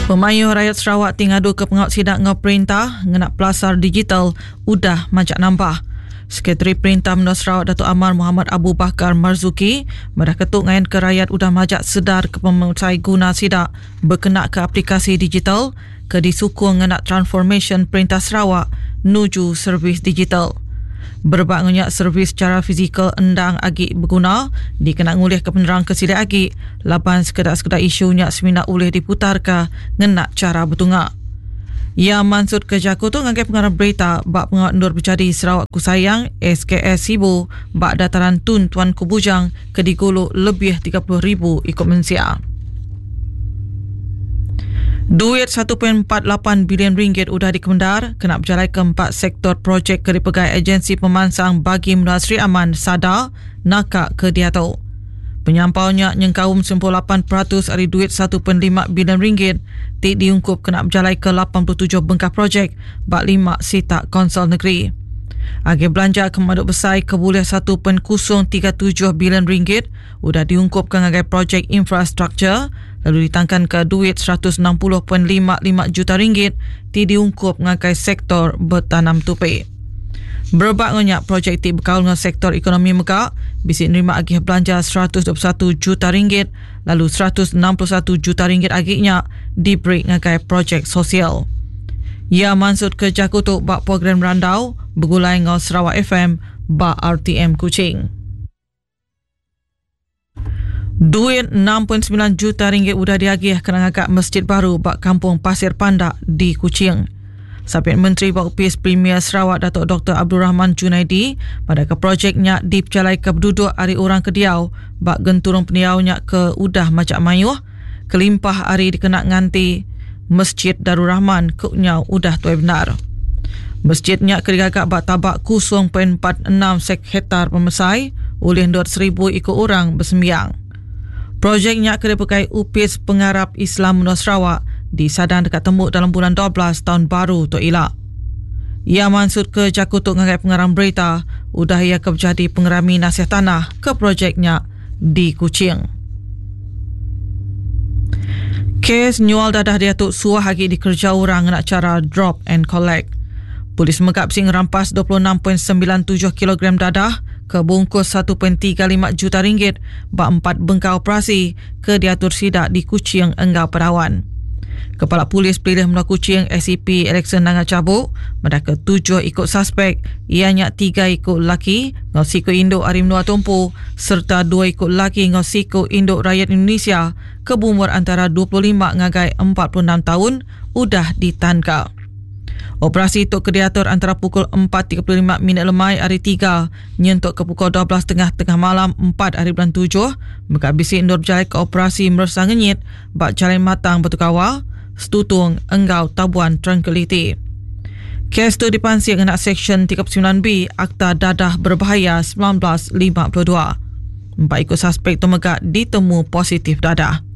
Pemayuh rayat Sarawak ti ngaduka pengawa sida enggau perintah ngena pelasar digital udah majak nambah. Sekretari Perintah Menua Sarawak Datuk Amar Mohamad Abu Bakar Marzuki madahka tu ngayanka rayat udah majak sedar ke pemesai guna sida bekenaka aplikasi digital ke disukung ngena transformasyen Perintah Sarawak nuju servis digital. Berebak enggau nya, servis chara fizikal endang agi beguna dikena ngulihka penerang ke silik agi laban sekeda-sekeda isu nya semina ulih diputarka ngena chara betunga. Iya mansutka jaku tu ngagai pengarang berita ba pengawa endur bejadi Sarawak Ku Sayang, SKS, Sibu ba Dataran Tun Tuanku Bujang ke digulu lebih 30,000 iku mensia. Duit 1.48 bilion ringgit udah dikemendar kena bejalaika empat sektor projek ke dipegai Agensi Pemansang Bagi Menua Sri Aman, SADA, naka ke diatu. Penyampau nya nyengkaum 98% ari duit 1.5 bilion ringgit ti diungkup kena bejalaika 87 bengkah projek ba lima sitak kaunsil negeri. Agih belanja ke pemadu besai ke bulih 1.037 bilion ringgit udah diungkupka ngagai projek infrastruktur lalu ditangkanka duit 160.55 juta ringgit ti diungkup ngagai sektor betanam tupi. Berebak enggau nya, projek ti bekaul enggau sektor ekonomi mega bisi nerima agih belanja 121 juta ringgit lalu 161 juta ringgit agi nya diberi ngagai projek sosial. Iya mansutka jaku tu ba program randau begulai enggau Sarawak FM ba RTM Kuching. Duit 6.9 juta ringgit udah diagih kena ngaga masjid baru ba Kampung Pasir Pandak di Kuching. Sapit Menteri ba Opis Premier Sarawak Datuk Dr. Abdul Rahman Junaidi madahka projek nya dipejalaika beduduk ari orang ke diau ba genturung pendiau nya ke udah majak mayuh kelimpah ari dikena nganti Masjid Darul Rahman ke nyau udah tuai bendar. Masjid nya ke digaga ba tabak 0.46 hektar pemesai ulih endur seribu iku orang besembiang. Projek nya ke dipegai Opis Pengarap Islam Menua Sarawak disadang deka tembu dalam bulan 12 taun baru tu ila. Iya mansutka jaku tu ngagai pengarang berita udah iya ke bejadi pengerami nasih tanah ke projek nya di Kuching. Kes nyual dadah diatu suah agi dikereja orang ngena chara drop and collect. Polis mega bisi ngerampas 26.97 kilogram dadah ke bungkus 1.35 juta ringgit ba empat bengkah operasi ke diatur sida di Kuching enggau Padawan. Kepala Polis Pelilih Menua Kuching SCP Alexson Nanga Chabuk madahka tujuh iku suspek iya nya tiga iku lelaki enggau siku indu ari menua tu empu sereta dua iku lelaki enggau siku indu rayat Indonesia ke beumur antara 25 ngagai 46 taun udah ditanka. Operasi tu ke diatur antara pukul 4.35 minit lemai hari Tiga nyentuk ke pukul 12.30 tengah malam 4 hari bulan 7 mega bisi endur bejalaika operasi meresa ngenyit ba Jalai Matang Batu Kawa, Setutung enggau Tabuan Tranquility. Kes tu dipansik ngena Seksyen 39B Akta Dadah Berbahaya 1952. Empat iku suspek tu mega ditemu positif dadah.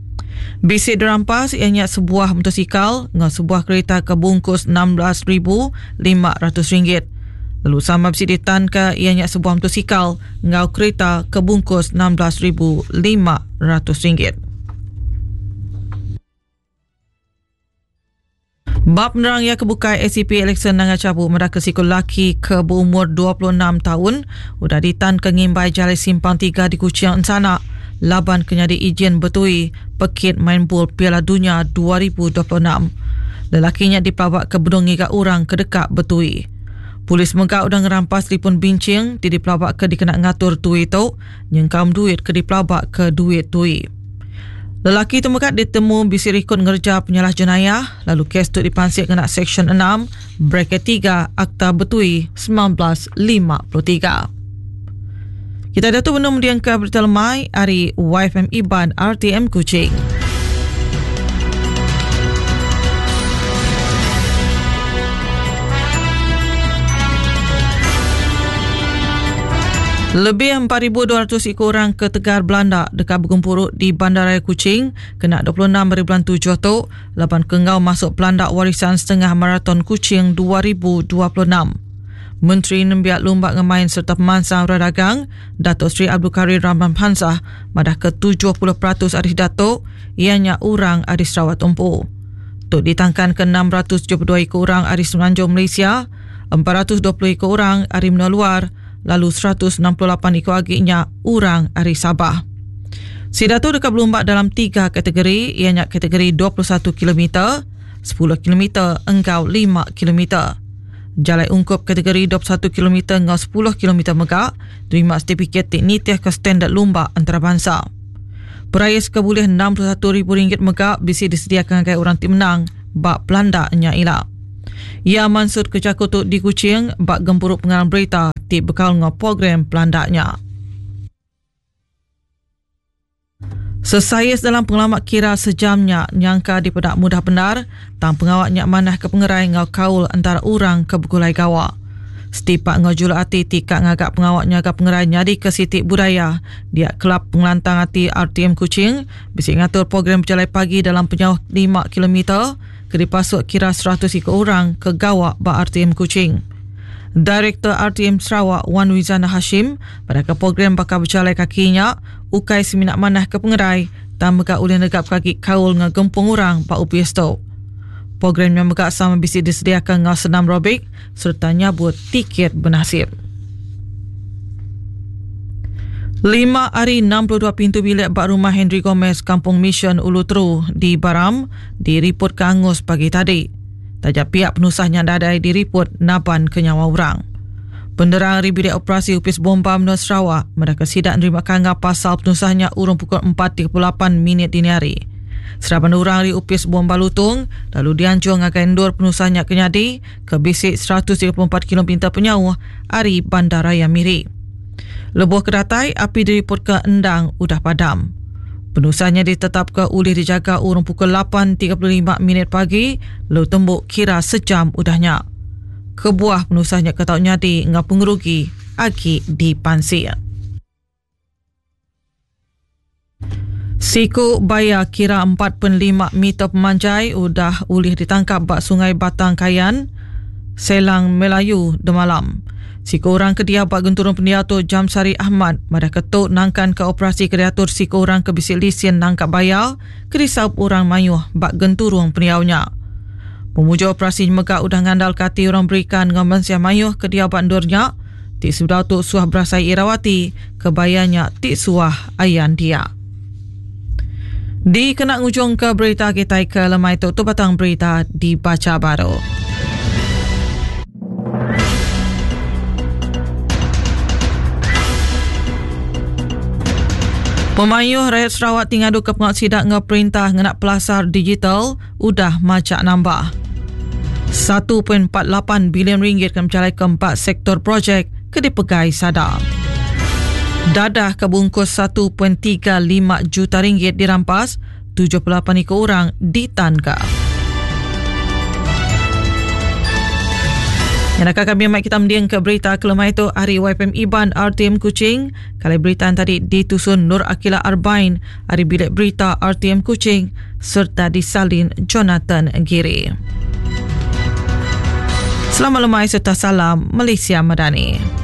Bisi dirampas iya nya sebuah motosikal enggau sebuah kerita ke bungkus RM16,500. Lalu sama bisi ditanka iya nya sebuah motosikal enggau kerita ke bungkus RM16,500. Ba penerang iya ke bukai, ACP Alexson Nanga Chabu madahka siku lelaki ke beumur 26 taun udah ditanka ngimbai Jalai Simpang Tiga di Kuching ensana laban ke nyadi ijin betui pekit main bul Piala Dunya 2026. Lelaki nya dipelabaka benung ngiga orang ke deka betui. Polis mega udah ngerampas telefon binching ti dipelabaka dikena ngatur tui tu nyengkaum duit ke dipelabaka duit tui. Lelaki tu mega ditemu bisi rikod ngereja penyalah jenayah lalu kes tu dipansik ngena Seksyen 6 braket 3 Akta Betui 1953. Kita diatu benung mendingka berita lemai ari YFM Iban RTM Kuching. Lebih 4,200 iku orang ke tegar belanda deka begempuru di Bandaraya Kuching kena 26 hari bulan 7 tu laban ke enggau masuk Pelanda Warisan Setengah Maraton Kuching 2026. Menteri Nembiak Lumba enggau Main sereta Pemansang Orang Dagang, Dato Sri Abdul Karim Rahman Hamzah madahka 70% ari sida tu iya nya orang ari Sarawak tu empu. Tu ditangkan ke 672 iku orang ari Semenanjung Malaysia, 420 iku orang ari menua luar lalu 168 iku agi nya orang ari Sabah. Sida tu deka belumba dalam tiga kategori iya nya kategori 21 kilometer, 10 kilometer enggau 5 kilometer. Jalai ungkup kategori 21 kilometer enggau 10 kilometer mega nerima setipikit ti nitihka standard lumba antarabansa. Perais ke bulih RM61,000 mega bisi disediaka ngagai orang ti menang ba pelanda nya ila. Iya mansutka jaku tu di Kuching ba gempuru pengarang berita ti bekaul enggau program pelanda nya. Sesais dalam pengelama kira sejam nya nyangka dipeda mudah bendar tang pengawa nya manah ke pengerai enggau kaul entara orang ke begulai gawa. Setipak enggau juluk ati ti ka ngaga pengawa nyaga pengerai nyadika siti budaya dia Kelab Pengelantang Ati RTM Kuching bisi ngatur program bejalai pagi dalam penyauh lima kilometer ke dipasuk kira 100 iku orang ke gawa ba RTM Kuching. Direktor RTM Sarawak Wan Wizana Hashim madahka program baka bejalai kaki nya ukai semina manah ke pengerai tang mega ulih negapka agi kaul enggau gempung orang ba opis tu. Program nya mega sama bisi disediaka enggau senam aerobik sereta nyabut tiket benasip. Lima ari 62 pintu bilik ba rumah Henry Gomez, Kampung Mission Ulu Teru di Baram diripotka angus pagi tadi. Taja pia penusah nya nadai diriput naban ke nyawa orang. Penerang ari Bilik Operasi Opis Bomba Menua Sarawak madahka sida nerima kangau pasal penusah nya urung pukul 4.38 minit dini hari. Seraban orang ari Opis Bomba Lutong lalu dianjung ngagai endur penusah nya ke nyadi ke bisi 134 kilometer penyauh ari Bandaraya Miri. Lebuh ke datai, api diripotka endang udah padam. Penusah nya ditetapka ulih dijaga urung pukul 8.35 minit pagi lalu tembu kira sejam udah nya. Kebuah penusah nya ke tau nyadi enggau pengerugi agi dipansik. Siku baya kira 4.5 meter pemanjai udah ulih ditangkap ba Sungai Batang Kayan, Selang Melayu demalam. Siku orang ke diau ba genturung pendiau tu Jamsari Ahmad madahka tu nangkanka operasi ke diatur siku orang ke bisi lisin nangkap baya ke disaup orang mayuh ba genturung pendiau nya. Pemujur operasi nya mega udah ngandalka ati orang berikan enggau mensia mayuh ke diau ba endur nya ti sebedau tu suah berasai irau ati ke baya nya ti suah ayan dia. Dikena ngujungka berita kitai ke lemai tu, tu batang berita dibacha baru. Pemayuh rayat Sarawak ti ngaduka pengawa sida enggau perintah ngena pelasar digital udah majak nambah. 1.48 bilion ringgit kena bejalaika empat sektor projek ke dipegai sada. Dadah ke bungkus 1.35 juta ringgit dirampas, 78 iku orang ditanka. Nyenaka kami mai kita mending ke berita kelemai tu ari YPM Iban RTM Kuching. Kali berita tadi ditusun Nur Akila Arbain ari bilik berita RTM Kuching serta disalin Jonathan Giri. Selamat lemai serta salam Malaysia Madani.